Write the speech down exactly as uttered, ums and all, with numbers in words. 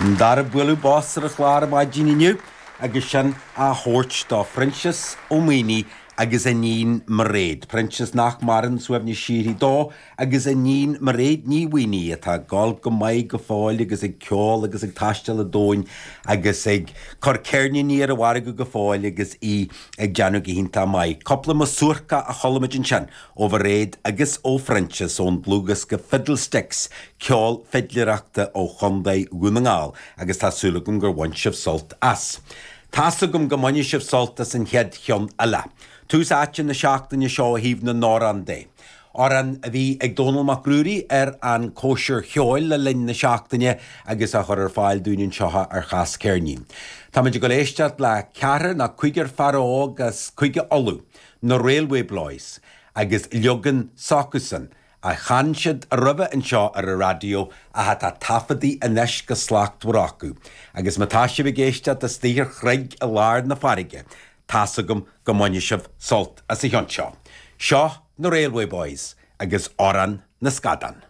An dara bualadh bos ar an chlár ar maidin inniu agus sin á thabhairt do Phroinsias Ó Maonaigh agus a iníon Mairéad. Proinsias nach maireann, suaimhneas síoraí dó, agus a iníon Mairéad Ní Mhaonaigh atá ag gabháil go maith go fóill agus ag ceol agus ag taisteal an domhain agus ag cur ceirníní ar an mhargadh go fóill agus í ag déanamh go hiontach maith. Cúpla masúrca a chuala muid ansin ó Mhairéad agus ó Phroinsias ón dlúthdhiosca Fiddlesticks, ceol fidléireachta ó Chontae Dhún na nGall agus tá súil agam gur bhain sibh sult as. Tá's agam go mbainfidh sibh sult as an chéad cheann eile. Tús áite na seachtaine seo ó thaobh na n-amhrán de. Amhrán a bhí ag Dónall Mac Ruairí ar an cóisir cheoil le linn na seachtaine agus á chur ar fáil dúinn anseo ar Chas Ceirnín. Táimid ag dul éisteacht le ceathrar nó cúigear fear óg as Cúige Uladh, na Railway Bloys, agus leagan s'acusan a chan siad roimhe anseo ar an raidió ach atá taifeadta anois go slachtmhar acu. Agus má tá sibh ag éisteacht istigh ar chreig i lár na farraige, tá's agam go mbainfidh sibh sult as an cheann seo. Seo na Railway Boys agus Amhrán na Scadán.